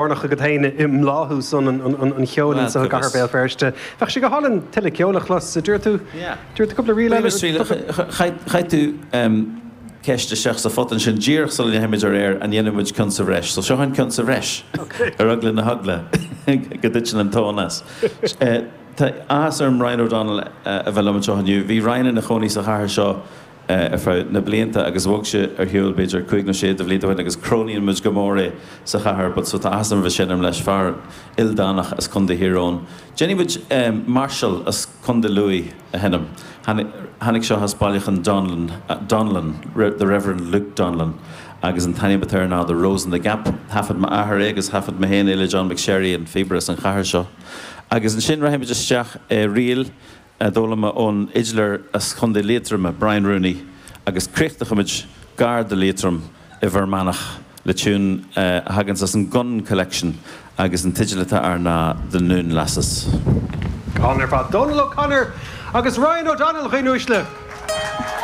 Lárnach agat féin i mbláthú san an cheoil anso i gcathair Bhéal Feirste. Bheadh sé go hálainn tuilleadh ceoil a chlos, a dúirt tú. Dúirt tú cúpla ríl eile. Chaith tú ceist isteach sa phota ansin díreach sula ndeachaigh muid ar aer, an ndéanfaidh muid ceann sa bhreis? So seo an ceann sa bhreis. Ar eagla na heagla go dtiteann an tóin as. Tá áthas orm Ryan O'Donnell a bheith liom anseo inniu. Bhí Ryan ina chónaí sa chathair seo ar feadh na blianta agus bhog sé ar shiúl b'fhéidir cúig nó sé de bhlianta ó shin agus cronaíonn muid go mór é sa chathair but so tá áthas orm a bheith ag seinm leis, fear ildánach as Contae Thír Eoghain. Déanfaidh muid Máirseáil as Contae Lú a sheinm. Tháinig seo as bailiúchán Donnellan, Donnellan, The Reverend Luke Donnellan agus an t-ainm atá air ná The Rose in the Gap. Thaifead m'athair é agus thaifead mé féin é le John McSherry, an phíobaire as an chathair seo. Agus ansin rachaidh muid isteach i ríl a d'fhoghlaim mé ón fhidléir as Contae Liatroma, Brian Rooney, agus críochnóchaimid gar do Liatroim i bhFear Manach le tiún a thaganns as an Gunn Collection agus an teideal atá air ná The Noon Lasses. Go hálainn ar fad. Dónal O'Connor agus Ryan O'Donnell, a dhaoine uaisle!